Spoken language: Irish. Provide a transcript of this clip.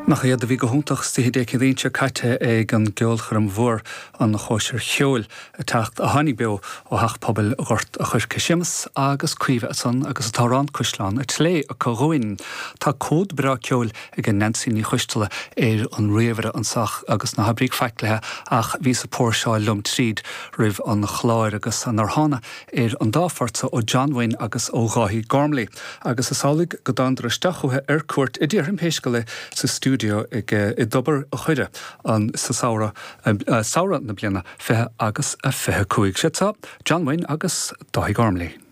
Nach iad a bhí go hiontach istoíche Dé Céadaoin seo caite ag an gceolchoirm mhór, an Chóisir Cheoil, a teacht a tháinig beo ó Theach Pobail Ghort a' Choirce. Séamus agus Caoimhe ansan agus an t-amhrán Caisleán a' tSléibhe acu dhúinn. Tá comhad breá ceoil ag Neansaí Ní Choisteala ar an ríomhaire anso agus ná habraíg faic léithe ach bhíos ag póirseáil liom tríd roimh an chlár agus nár thána ar an dá phort so ó John Wynne agus ó Dháithí Gormley agus is amhlaidh go dtánadar isteach chuici ar cuairt a déarfainn pé scéal é sa stiúideo ag i dTobar a' Choire an sa samhradh samhradh na bliana 20 agus a 25. Siad seo John Wynne agus Dáithí Gormley.